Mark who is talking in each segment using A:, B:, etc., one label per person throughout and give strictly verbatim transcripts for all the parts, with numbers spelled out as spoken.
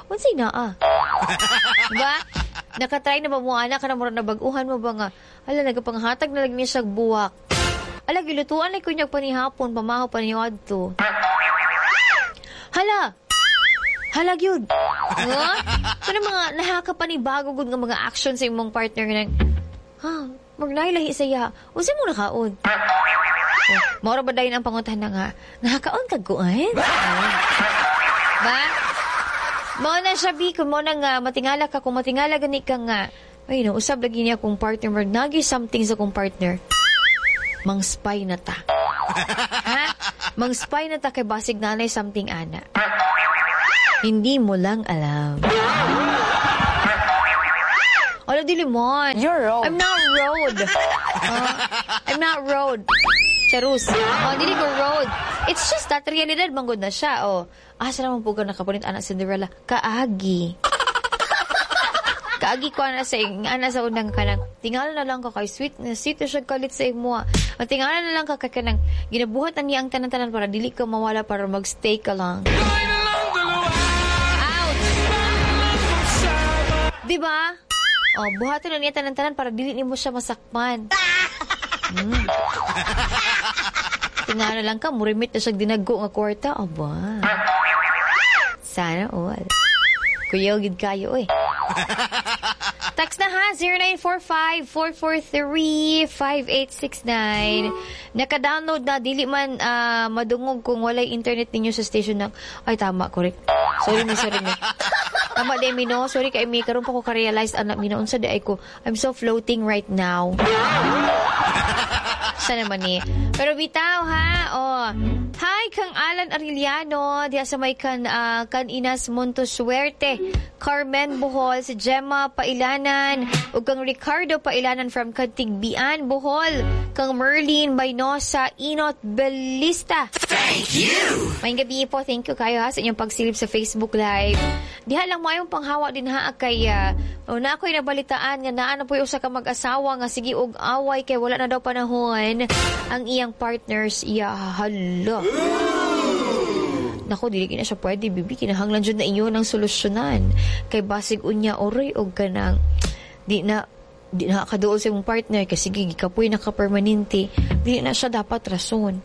A: Unsay naa? Ba? Nakatry na ba mo ana ka na murag nabag-uhan mo ba nga ala nagapanghatag na lang niya siya buwak. Ala gilutuan ay kunyag panihapon pamahaw pa niyo adto. Hala. Hala gyud. Ha? Kana mga nahaka pa ni bago gud nga mga action sa imong partner nga nang ha, magnailahi sa iya. Unsa mo nakaon? Oh, mao ra ba dayon ang pangutana nga nakakaon kag kuan? Ba? Mao na siya bi kung mao na nga matingala ka kung matingala gani ka nga ay no usab lagi niya kung partner mo nagi something sa kong partner. Mang spy na ta. Ha? Mang spy na ta kay basig nanay something ana. Hindi mo lang alam. Ala, dili man.
B: You're road.
A: I'm not road. Uh, I'm not road. Charus. Oh, dili ko road. It's just that realidad manggod na siya. Oh, asa naman po ka nakapunit anak Cinderella? Kaagi. Kaagi ko ana sa ana sa unang kanang tingala na lang ka kay sweet na sweet na siya kalit sa imo. Ang tingala na lang ka kay kanang ginabuhat na niya ang tanan-tanan para dili ka mawala para magstay ka lang. Out. Di ba? Oh, buhaton na niya tanan-tanan para dili nimo siya masakpan. Mm. Tingala lang ka, murimit na siya dinago nga kwarta. Aba. Sana all. Kuyaw gid kayo eh. Text na ha, zero nine four five, four four three, five eight six nine. Naka-download na, dili man, ah, madungog kung walay internet ninyo sa station ng... Ay, tama, correct. Sorry mi, sorry mi. Tama di mi, no? Sorry kay mi, karon pa ko ka-realize, anak mi, na unsa di ay ko. I'm so floating right now. Siya naman eh. Pero bitaw ha, oh. Hi, kang Alan Arellano, diha sa may kan, ah, kan Inas Montosuerte, Carmen Bohol, si Gemma Pailanan, ug kang Ricardo Pailanan from Kantigbian, Bohol, kang Merlin Baynosa, Inot Belista.
C: Thank you!
A: Maayong gabi po, thank you kayo ha sa inyong pagsilip sa Facebook Live. Diha lang mo ayong panghawa din ha kay, ah, oh, na ako'y nabalitaan nga naa na po'y usa ka mag-asawa nga sige og away kay wala na daw panahon ang iyang partners. Iya, hala. Nako, dili na siya pwede, bibi. Kinahanglan jud na inyo ng solusyonan. Kay basig unya, oray, og kanang, di na, di na kaduol sa imong partner, kasi sige, gikapoy na ka permanente. Di na siya dapat rason.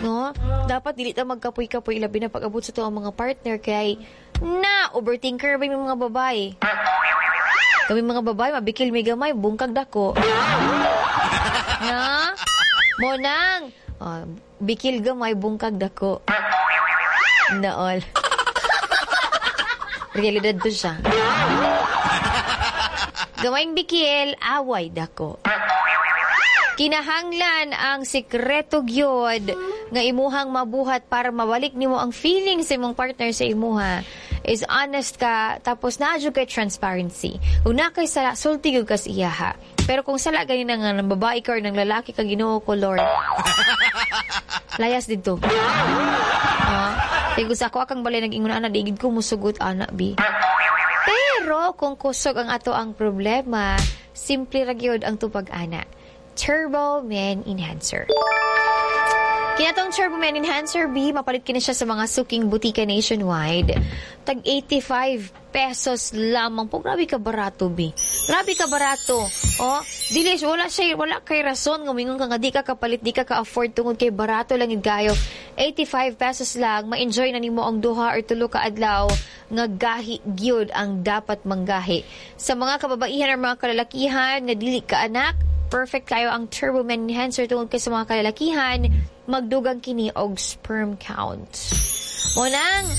A: No? Dapat dili ta magkapoy-kapoy, labi na pag-abot sa to ang mga partner, kay, na, overthinker ba yung mga babae? Kami mga babae, mabikil may gamay, bungkag dako. Na? Monang, oh, bikil gamay, bungkag dako. Naol. Realidad to siya. Gamayng bikil, away dako. Kinahanglan ang sikreto gyud nga imuhang mabuhat para mabalik nimo ang feeling sa imong partner sa imuha is honest ka, tapos naa jud kay transparency. Kung naa kay sala, sulti gyud ka sa iyaha. Pero kung sala gani na nga ng babae ka or ng lalaki ka, Ginoo ko Lord. Layas didto. Ah, kay gusto ako akang balay nag-ingon ana, di gid ko musugot ana bi. Pero kung kusog ang ato ang problema, simple ra gyud ang tupag ana. Turbo Man Enhancer. Kinatong Turbo Man Enhancer B, mapalit kini siya sa mga suking butika nationwide. Tag eighty-five pesos lamang po. Grabe ka barato, B. Grabe ka barato. Oh, dili, wala siya, wala kay rason. Ngumingon ka nga, di ka kapalit, di ka ka-afford tungod kay barato lang yun kayo. eighty-five pesos lang, ma-enjoy na nimo ang duha or tulo ka adlaw nga gahi gyud ang dapat manggahi. Sa mga kababaihan or mga kalalakihan nga dili ka anak, perfect kayo ang Turbo Man Enhancer tungod kay sa mga kalalakihan, magdugang kini og sperm count. Monang,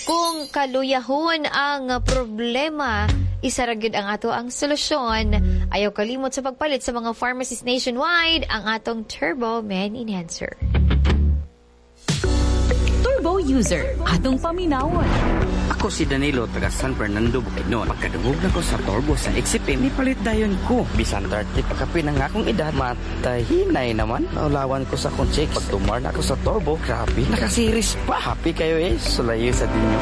A: kung kaluyahon ang problema, isa ra gyud ang ato ang solusyon. Ayaw kalimot sa pagpalit sa mga pharmacies nationwide ang atong Turbo Man Enhancer.
D: Turbo user, atong paminawon.
E: Ako si Danilo, taga San Fernando, Bukidnon. Pagkadungog na ko sa Turbo sa X F M, nipalit dayon ko. Bisan thirty pagkapin ang akong edad, matahinay naman. Naulawan ko sa akong chicks. Pag tumar na ako sa Turbo, grabe, nakasiris pa. Happy kayo eh, sulayo sa dinyo.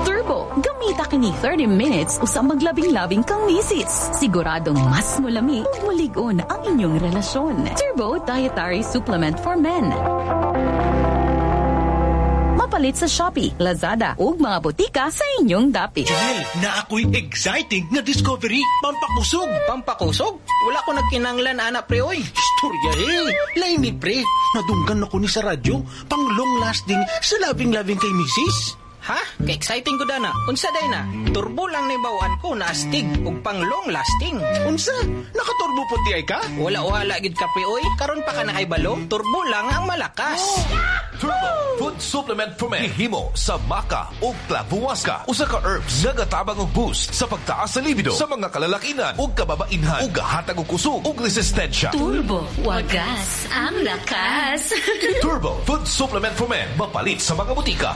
D: Turbo, gamita kini thirty minutes usa maglabing-labing kang misis. Siguradong mas mulami ug mulig-on ang inyong relasyon. Turbo Dietary Supplement for Men. Mapalit sa Shopee, Lazada ug mga botika sa inyong dapit.
B: Junel, naa ko'y exciting nga discovery. Pampakusog.
C: Pampakusog? Wala ko nagkinanglan ana pre oy.
B: Istorya eh. Lain ni pre. Nadunggan ako ni sa radyo. Pang long lasting sa loving-loving kay misis.
C: Ha? Ka-exciting ko dana. Unsa day na? Turbo lang ni bawaan ko na astig ug pang long lasting.
B: Unsa? Nakaturbo po ti ay ka?
C: Wala wala gid ka pre oy. Karon pa ka nakahibalo, turbo lang ang malakas.
F: Turbo Food Supplement for Men. Himo sa maca o clavuasca. Usa ka herbs nagatabang og boost sa pagtaas sa libido sa mga kalalakinan ug kababainhan ug gahatag og kusog ug resistensya.
D: Turbo, wagas ang lakas.
F: Turbo Food Supplement for Men. Mapalit sa mga botika.